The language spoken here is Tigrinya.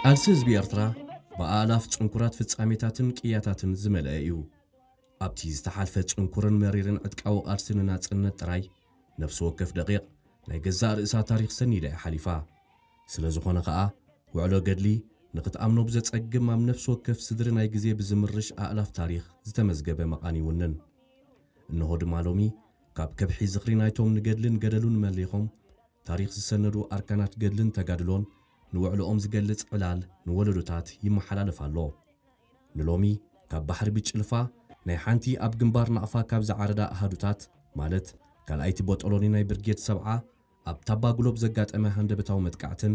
ቃልሲ ህዝቢ ኤርትራ ብኣእላፍ ጽንኩራት ፍጻሜታትን ቅያታትን ዝመልአ እዩ። ኣብቲ ዝተሓልፈ ጽንኩርን መሪርን ዕጥቃዊ ቃልሲ ንናጽነት ጥራይ፣ ነፍሲ ወከፍ ደቂቕ ናይ ገዛእ ርእሳ ታሪኽ ሰኒዳ እያ ሓሊፋ። ስለ ዝኾነ ኸኣ፣ ውዕሎ ገድሊ ንኽትኣምኖ ብዘጸግም ኣብ ነፍሲ ወከፍ ስድሪ ናይ ግዜ ብዝምርሽ ኣእላፍ ታሪኽ ዝተመዝገበ መቓን ይውንን። እንሆ ድማ ሎሚ፣ ካብ ከብሒ ዝኽሪ ናይቶም ንገድልን ገደሉን መሊኾም ታሪኽ ዝሰነዱ ኣርካናት ገድልን ተጋድሎን ንውዕሎኦም ዝገልጽ ዕላል ንወለዶታት ይመሓላለፍ ኣሎ። ንሎሚ፣ ካብ ባሕሪ ብጭልፋ ናይ ሓንቲ ኣብ ግንባር ናቕፋ ካብ ዝዓረዳ ኣሃዱታት፣ ማለት ካልኣይቲ ቦጦሎኒ ናይ ብርጌድ ሰብዓ ኣብ ታባ ግሎብ ዘጋጠመ ሃንደበታዊ መጥቃዕትን